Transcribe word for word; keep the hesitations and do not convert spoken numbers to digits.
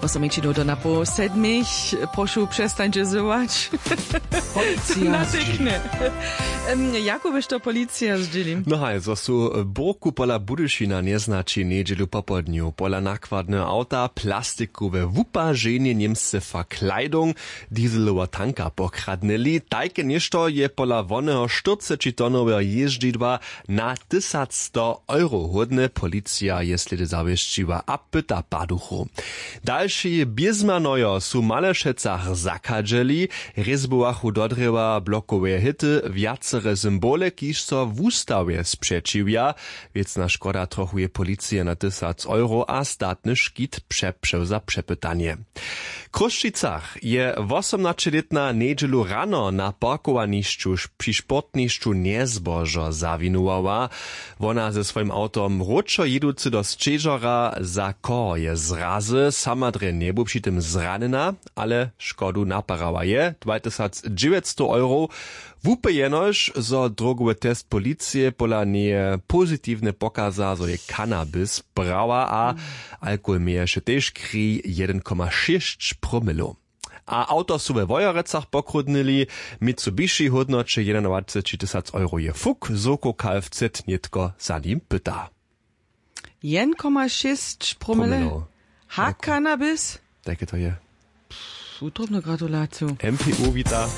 Wosomjećinu do napoł sedmich. Prošu, přestańće zywać. Policija zdźěli. Jako byš to policija zdźěli? No haj, zo su burku pola budyšina njeznaći njedźelu popołdnju pola nakładneho awta plastikowe wupaženje němsce verkleidung, dieselowa tanka pokradnyli. Tajke něšto je pola woneho štyrcećitonoweho jězdźidła na tysac sto euro hódne. Policija je slědy zawěsćiła a pyta paduchow. Dalši bězmanojo su w malešecach zachadźeli. Rězbowachu do drěwa blokoweje hyty wjacere symbole kiž so wustawje spřećiwja. Wěcna škoda trochu je policije na tysac euro a statny škit přepřeł za přepytanje. W chrósćicach je wosomnaćelětna njedźelu rano na parkowanišću při sportnišću njezbožo zawinowała. Wona ze swojim awtom wróćo jěducy do sćežora za koho je zrazy sama drje njebu při tym zranjena, ale škodu naparała je dwatysacdźewjećstow eurow. Wupy jenož zo drogowy test policije pola njeje pozitiwnje pokaza zo je kanabis brała a alkohol měješe tež kri jedyn koma šěsć promilow. A awto su we wojerecach pokródnyli. Mitsubishi hódnoće jedynadwaceći tysac euro je fuk zoko kfz nětko za nim pyta. Jedyn koma šěsć promile. Ha kanabis. Tak je to je. Wutrobnu gratulaciju. Mpu wita.